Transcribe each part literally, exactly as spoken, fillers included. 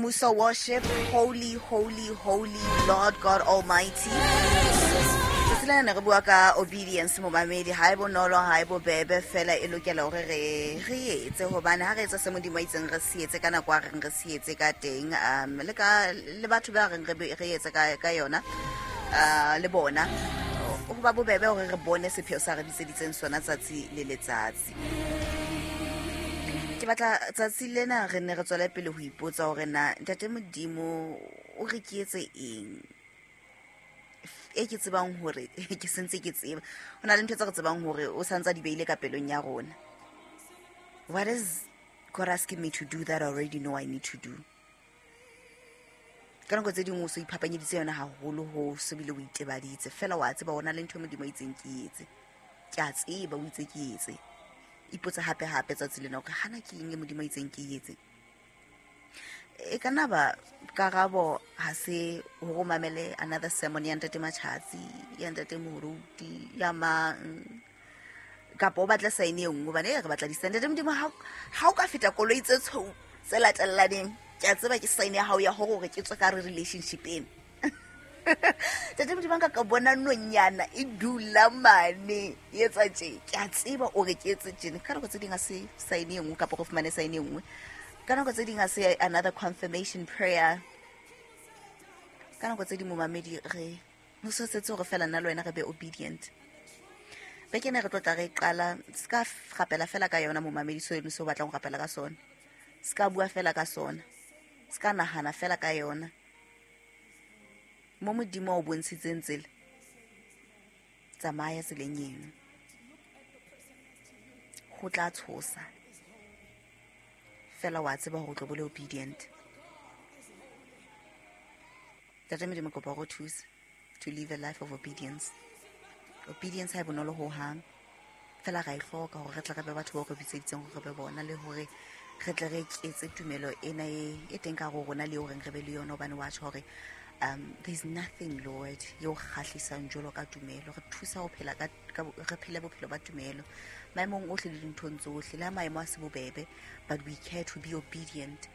Muso Worship, Holy, Holy, Holy Lord God Almighty. Tsatsi lena ne re bua ka obedience, momamedi. Ha e bonolo, ha e bobebe, fela e lokela hore re re etse, hobane ha re etsa se Modimo a itseng re se etse ka nako a reng re se etse ka teng, um le ka le batho ba reng re be- re etse ka ka yona, uh, le bona ho ba bobebe hore re bone sepheo sa re bitseditseng sona tsatsi le letsatsi. Ke batla tsatsi lena re ne re tswele pele ho ipotsa hore na Ntate Modimo o re ke etse eng e ke tsebang hore ke sentse ke tseba ho na le ntho tse re tsebang hore o santse a di beile ka pelong ya rona. What is God asking me to do that I already know I need to do? Ka nako tse dingwe o so iphapanyeditse yona haholo ho so bile o itebaditse fela, wa tseba ho na le ntho e Modimo a itseng ke etse, ke a tseba o itse ke etse. Ipotse hape hape tsatsi lena hore hana ke eng e Modimo a itseng ke etse. E ka nna ba karabo ha se hore o mamele another sermon ya Ntate Matjhatsi, ya Ntate Moruti, ya mang, kapa o batle sign e nngwe, hobane e re batla di-sign. Ntate Modimo, ha ha o ka feta koloi tse tshweu tse latellaneng, ke a tseba ke sign ya hao ya hore hore ke tswe ka hare relationship ena. Ntate Modimo, nka ka bona nonyana e dula mane e etsa tje, ke a tseba o re ke etse tjena. Ka nako tse ding ha se sign e nngwe, kapa re fumane sign e nngwe. Ka nako tse ding ha se another confirmation prayer. Ka nako tse ding, momamedi, re ho so setse hore fela nna le wena re be obedient. Beke ena re tlo tla re qala, se ka rapela fela ka yona, momamedi, seno se o batlang ho rapela ka sona, se ka bua fela ka sona, se ka nahana fela ka yona. Mo Modimo a o bontshitseng tsela, tsamaya tseleng eno. Ho tla tshosa fela, wa tseba hore o tlo bo le obedient. Ntate Modimo, kopa hore o thuse to live a life of obedience. Obedience ha e bonolo ho hang, fela ra e hloka hore re tle re be batho bao re bitseditseng hore re be bona, le hore re tle re eketse tumelo ena e e teng ka hare ho rona, le horeng re be le yona, hobane wa tjho hore um there's nothing, Lord, eo kgahlisang jwalo ka tumelo. Re thusa ho phela ka, ka re phele bophelo ba tumelo maemong ohle le dinthong tsohle, le ha maemo a se bobebe, but we care to be obedient.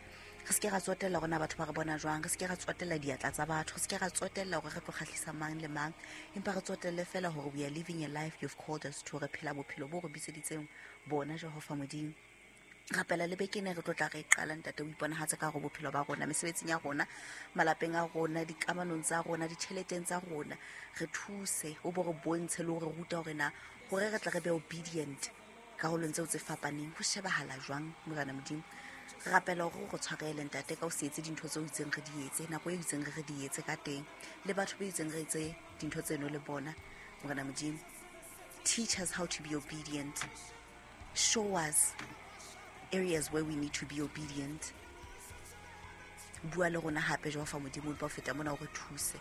Re se ke ra tsotella hore na batho ba re bona jwang, re se ke ra tsotella diatla tsa batho, re se ke ra tsotella hore re tlo kgahlisa mang le mang, empa re tsotelle fela hore we are living a life you've called us to. Re phela bophelo bo re bitseditseng bona, Jehova Modimo. Rapela le beke ena re tlo tla re qala, Ntate, o iponahatse ka hare bophelo ba rona, mesebetsing ya rona, malapeng a rona, dikamanong tsa rona, ditjheleteng tsa rona. Re thuse, o bo re bontshe le hore ruta hore na hore re tle re be obedient karolong tseo tse fapaneng ho shebahala jwang. Morena Modimo, re rapela hore o re tshwarele, Ntate, ka o se etse dintho tseo itseng re di etse nako e itseng re re di etse ka teng, le batho ba itseng re etse dintho tseno le bona. Morena Modimo, teach us how to be obedient. Show us areas where we need to be obedient. Bua le rona hape, Jehova Modimo, empa ho feta mona o re thuse,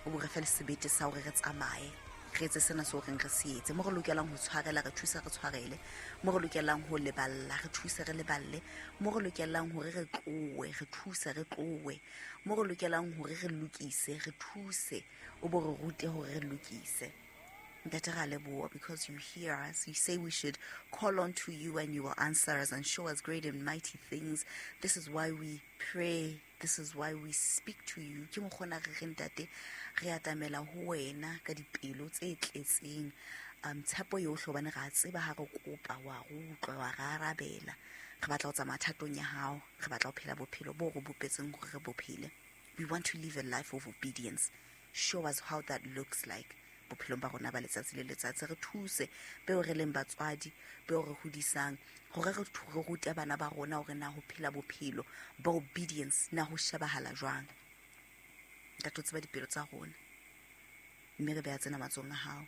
o bo re fe le sebete sa hore re tsamaye re etse sena seo reng re se etse. Mo re lokelang ho tshwarela, re thuse re tshwarele. Mo re lokelang ho leballa, re thuse re leballe. Mo re lokelang hore re tlowe, re thuse re tlowe. Mo re lokelang hore re lokise, re thuse, o bo re rute hore re lokise. Ntate, ra leboha because you hear us. You say we should call on to you and you will answer us and show us great and mighty things. This is why we pray. This is why we speak to you. Ke mokgona re re, Ntate, re atamela ho wena ka dipelo tse tletseng um tshepo yohle, hobane re a tseba ha re kopa wa re utlwa, wa re arabela. Re batla ho tsamaya thatong ya hao, re batla ho phela bophelo bo re bopetseng hore re bo phele. We want to live a life of obedience. Show us how that looks like bophelong ba rona ba letsatsi le letsatsi. Re thuse beo re leng batswadi, beo re hodisang, hore re re rute bana ba rona hore na ho phela bophelo ba obedience na ho shebahala jwang. Ntate, o tseba dipelo tsa rona, mme re beha tsena matsohong a hao.